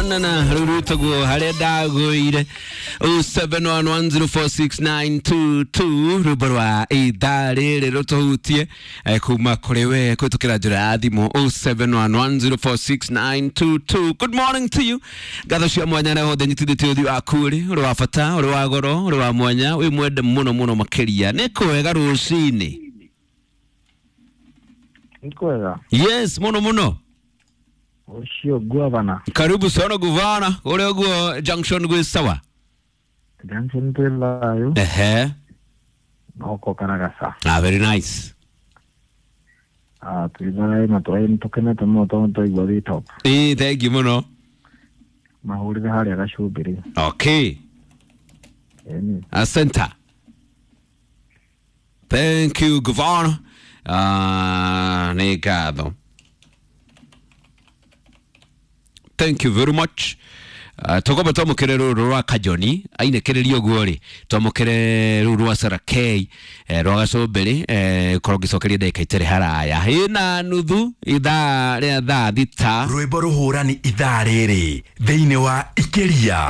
John na rũu rwĩtagwo harĩa ndagũire. 0711046922 rwĩmbo rwa ithaa rĩrĩ rũtũhutie kuma kũrĩ we kũhĩtũkĩra njĩra ya thimũ 0711046922. Good morning to you. Ngatho cia mwanya arĩa othe nyitithĩtie ũthiũ waku rĩ ũrĩ wa bata, ũrĩ wa goro, ũrĩ wa mwanya, wĩ mwende mũno mũno makĩria. Nĩ kwega rũcinĩ. Nĩ kwega. Yes, mũno mũno. Ũcio ngwavana. Karibu sana guvana, ũrĩa ũguo junction gwĩ sawa. Junction twĩ thayũ. Ehe. Noko Karagasa. Ah, very nice. Ah, twĩ thayũ na tũraĩ tũkenete mũno tondũ twaigua wĩ top. Ĩĩ, thank you mũno. Mahũrĩre harĩa gacumbĩrĩ. Okay. Ĩni. Asante. Thank you, Governor. Nĩ ngatho. Thank you very much. Tũkwamba twamũkĩre rũrũ rwa Kajoni ainĩkĩrĩria ũguo rĩ, twamũkĩre rũrũ rwa Sarakei rwa gacũmbĩrĩ, korwo ngĩcokeria ndagĩka itarĩ haraya ĩna nuthu ithaa rĩa thaa 6. Rwĩmbo rũhũrani ithaa rĩrĩ thĩinĩ wa Ikĩria.